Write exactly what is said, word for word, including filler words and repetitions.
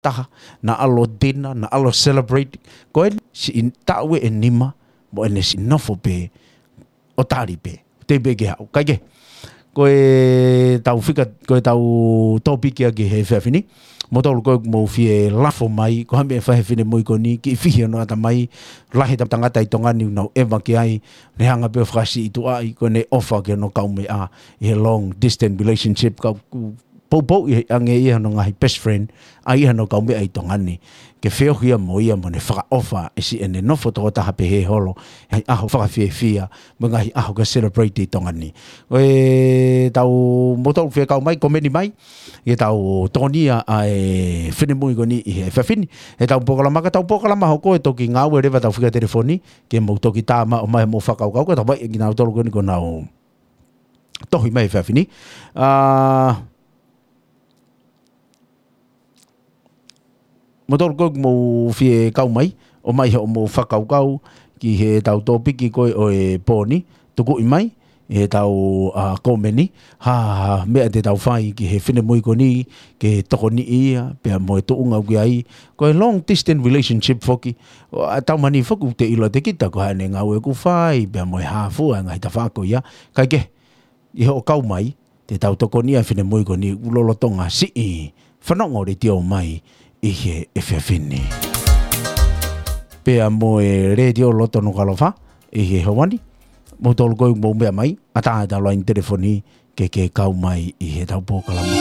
taha, naʻa ʻalu ʻo dinner, naʻa ʻalu ʻo celebrate. Ko eni siʻi taʻu ʻe nima, mo ʻene siʻi nofo pē ʻo tali pē. Tei pē ke haʻu. Kae kehe, ko ʻetau fika, ko ʻetau tōpiki ʻaki he efiafi ni. Moutolu ko ē ʻoku mou fie lafo mai, ko e hā e meʻa ʻe fai he finemui ko eni, kiʻi fihi hono ʻatamai, lahi ʻetau tangata ʻi Tonga ni ʻoku nau ʻeva ki ai, ne hanga pē ʻo fakasiʻituʻaʻi, ko ʻene ʻofa ki hono kaumeʻa, ʻi he long distance relationship, ka ʻoku poupouʻi ange ia hono ngaahi best friend, ʻa ia hono kaumeʻa ʻi Tonga ni. Ke feohi ia mo ia mo ne fakaʻofa ʻi siʻene nofo tokotaha pē he holo, ʻi he ngaahi ʻaho fakafiefia, mo e ngaahi ʻaho ke celebrate ʻi Tonga ni. Ko ʻetau moutolu fie kau mai, komeni mai, ke tau tokonia ʻa e finemui ko eni ʻi he efiafi ni. ʻEtau polokalama, ka ʻetau polokalama hoko ʻe toki ngāue leva ʻetau fika telefoni, ke mou toki tā mai ʻo ʻomai hoʻomou fakakaukau, ka tau vaʻinga kinautolu ko eni ʻoku nau tohi mai he efiafi ni. ʻA, moutolu ko ē ʻoku mou fie kau mai, ʻomai hoʻomou fakakaukau ki heʻetau tōpiki ko ē ʻo e pō ni, tukuʻi mai ʻetau, ʻa, komeni, ha, ha meʻa te tau fai ki he finemui ko eni, ke tokoniʻi ia, pea mo e tuʻunga ʻoku ʻi ai, ko e long distance relationship foki, ʻa, tau mani foki ʻoku te ʻilo ʻe kita ko e hā ʻene ngāue ʻoku fai, pea mo e hā fua e ngaahi tafaʻaki ko ia, kae kehe, ʻi hoʻo kau mai, te tau tokonia e finemui ko eni ʻoku lolotonga siʻi fanongo letiō mai ʻi he efiafi ni. Pea mo e Letiō Loto Nukuʻalofa ʻi he houa ni, moutolu ko ē ʻoku mou meʻa mai, ʻatā ʻetau laine telefoni ke ke kau mai ʻi heʻetau polokalama ko ē.